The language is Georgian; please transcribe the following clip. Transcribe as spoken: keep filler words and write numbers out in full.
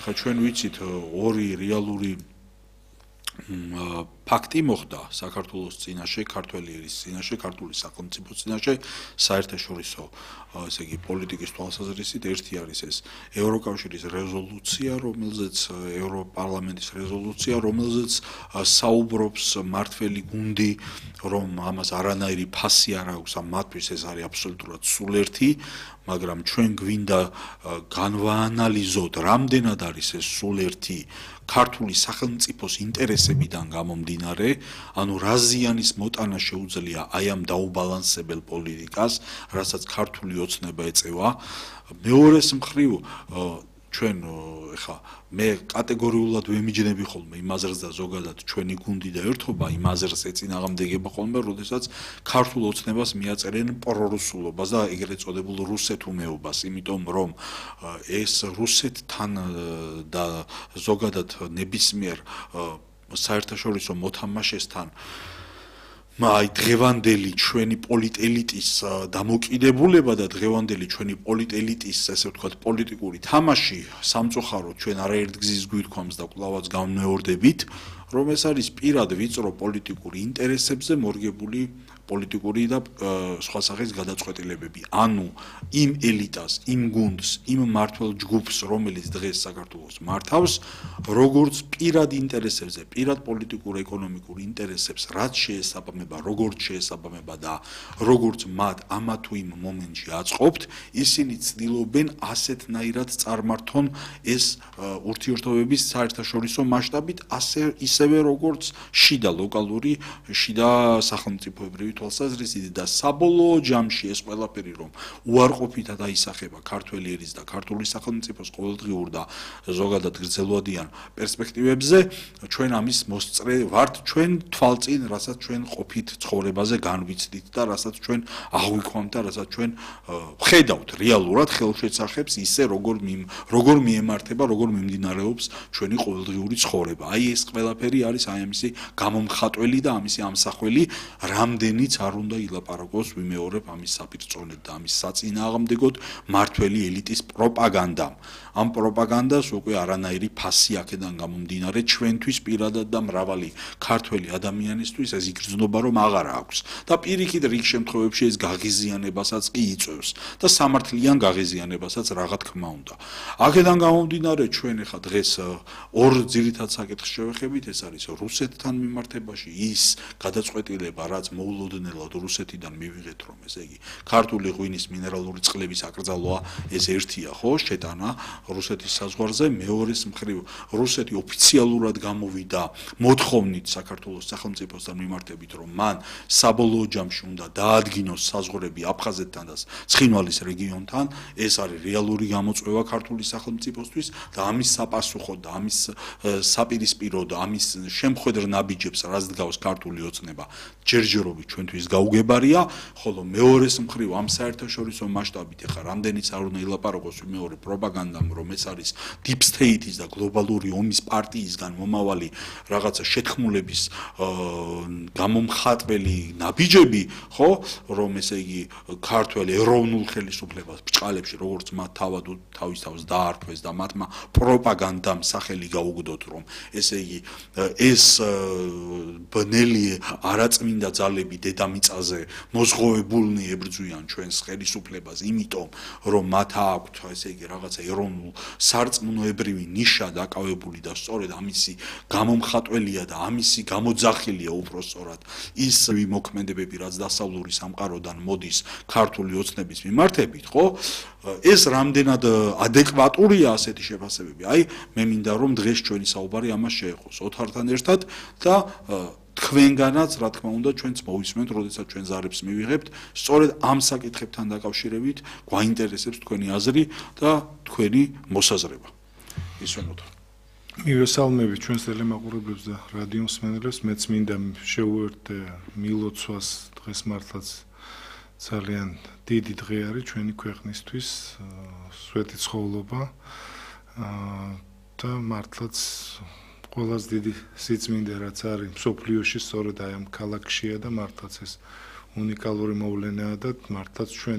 ხა ჩვენ ვიცით ორი რეალური ფაქტი მოხდა საქართველოს წინაშე, ქართველი ერის წინაშე, ქართული სახელმწიფოს წინაშე საერთაშორისო ესე იგი პოლიტიკის თვალსაზრისით. ერთი არის ეს ევროკავშირის რეზოლუცია, რომელზეც ევროპარლამენტის რეზოლუცია, რომელზეც საუბრობს მართველი გუნდი, რომ ამას არანაირი ფასი არ აქვს ამ მათთვის, ეს არის აბსოლუტურად სულერთი, მაგრამ ჩვენ გვინდა განვაანალიზოთ, რამდენად არის ეს სულერთი ქართული სახელმწიფოს ინტერესებიდან გამომდინარე, ანუ რა ზიანის მოტანა შეუძლია აი ამ დაუბალანსებელ პოლიტიკას, რასაც ქართული ოცნება ეწევა. მეორეს მხრივ ჩვენ ეხა მე კატეგორიულად ვემიჯნები ხოლმე იმ აზრს და ზოგადად ჩვენი გუნდი და ერთობა იმ აზრს ეწინააღმდეგება ხოლმე, როდესაც ქართულ ოცნებას მიაწერენ პრორუსულობას და ეგრეთ წოდებულ რუსეთუმეობას, იმიტომ რომ ეს რუსეთთან და ზოგადად ნებისმიერ საერთაშორისო მოთამაშესთან აი დღევანდელი ჩვენი პოლიტელიტის დამოკიდებულება და დღევანდელი ჩვენი პოლიტელიტის ესე ვთქვათ პოლიტიკური თამაში სამწუხაროდ ჩვენ არაერთ გზის გვირქვამს და კვლავაც განმეორდებით, რომ ეს არის პირად ვიწრო პოლიტიკური ინტერესებზე მორგებული პოლიტიკური და სხვა სახის გადაწყვეტილებები. ანუ იმ ელიტას, იმ გუნდს, იმ მმართველ ჯგუფს, რომელიც დღეს საქართველოს მართავს, როგორც პირად ინტერესებზე, პირად პოლიტიკურ ეკონომიკურ ინტერესებს, რაც შეესაბამება, როგორც შეესაბამება და როგორც მათ ამა თუ იმ მომენტში აწყობთ, ისინი ცდილობენ ასეთნაირად წარმართონ ეს ურთიერთობების საერთაშორისო მასშტაბით, ასე ისევე როგორც შიდა ლოკალური, შიდა სახელმწიფოებრივი თვალსაზრისით და საბოლოო ჯამში ეს ყველაფერი რომ უარყოფითად აისახება ქართველი ერის და ქართული სახელმწიფოს ყოველდღიურ და ზოგადად გრძელვადიან პერსპექტივებზე, ჩვენ ამის მოსწრე ვართ, ჩვენ თვალწინ, რასაც ჩვენ ყოფით ცხოვრებაზე განვიცდით და რასაც ჩვენ აღვიქვამთ და რასაც ჩვენ ვხედავთ რეალურად ხელშეცახებს ისე როგორ როგორ მიემართება, როგორ მიმდინარეობს ჩვენი ყოველდღიური ცხოვრება. აი ეს ყველაფერი არის აი ამისი გამომხატველი და ამისი ამსახველი, რამდენი არ უნდა ილაპარაკოს ვიმეორებ ამის საპირწონედ და ამის საწინააღმდეგოდ მართველი ელიტის პროპაგანდამ. ამ პროპაგანდას უკვე არანაირი ფასი აქედან გამომდინარე ჩვენთვის პირადად და მრავალი ქართველი ადამიანისთვის ეს იგრძნობა რომ აღარ აქვს და პირიქით რიგ შემთხვევებში ეს გაღიზიანებასაც კი იწვევს და სამართლიან გაღიზიანებასაც რაღა თქმა უნდა. აქედან გამომდინარე ჩვენ ახლა დღეს ორ ძირითად საკითხს შევეხებით, ეს არის რუსეთთან მიმართებაში ის გადაწყვეტილება, რაც მოულოდნელად რუსეთიდან მივიღეთ, რომ ესე იგი ქართული ღვინის მინერალური წყლების აკრძალვა ეს ერთია, ხო, შეტანა რუსეთის საზღვარზე, მეორეს მხრივ რუსეთი ოფიციალურად გამოვიდა მოთხოვნით საქართველოს სახელმწიფოსთან მიმართებით, რომ მან საბოლოო ჯამში უნდა დაადგინოს საზღვრები აფხაზეთთან და ცხინვალის რეგიონთან, ეს არის რეალური გამოწვევა ქართული სახელმწიფოსთვის და ამის საპასუხოდ და ამის საპირისპირო და ამის შემხედრ ნაბიჯებს რაც დგავს ქართული ოცნება ჯერჯერობით ჩვენთვის გაუგებარია, ხოლო მეორეს მხრივ ამ საერთაშორისო მასშტაბით ახლა რამდენიც არ უნდა ილაპარაკოს მეორე პროპაგანდამ, რომ ეს არის deep state-ის და გლობალური ომის პარტიისგან მომავალი რაღაცა შეთქმულების გამომხატველი ნაბიჯები, ხო, რომ ესე იგი ქართველ ეროვნულ ხელისუფლებას ბჭყალებში როგორც მათ თავად თავის თავს დაარქვეს და მათმა პროპაგანდამ სახელი გაუგდოთ, რომ ესე იგი ეს ბნელი არაწმინდა ძალები დედამიწაზე მოზღოვებულნი ებრძვიან ჩვენს ხელისუფლებას, იმიტომ რომ მათ აქვთ ესე იგი რაღაცა ეროვნულ სარწმუნოებრივი ნიშა დაკავებული და სწორედ ამისი გამომხატველია და ამისი გამოძახილია უпростоრად ის მოქმედებები, რაც დასავლური სამყაროდან მოდის ქართული ოცნების მიმართებით, ხო? ეს რამდენად ადეკვატურია ასეთი შეფასებები. აი, მე მინდა რომ დღეს ჩვენი საუბარი ამას შეეხოს ოთართან ერთად და თქვენგანაც, რა თქმა უნდა, ჩვენც მოვისმენთ, როდესაც ჩვენ ზარებს მივიღებთ, სწორედ ამ საკითხებთან დაკავშირებით გვაინტერესებს თქვენი აზრი და თქვენი მოსაზრება. ისვენოთ. მივესალმებით ჩვენს ტელემაყურებლებს და რადიო მსმენელებს, მეც მინდა შევუერთდე მილოცვას დღეს მართლაც ძალიან დიდი დღე არის ჩვენი ქვეყნისთვის, სვეტი ცხოვრება და მართლაც ყველაზე დიდი სიწმინდე რაც არის მსოფლიოში სწორედ აი ამ ქალაქშია და მართლაც ეს უნიკალური მოვლენაა და მართლაც ჩვენ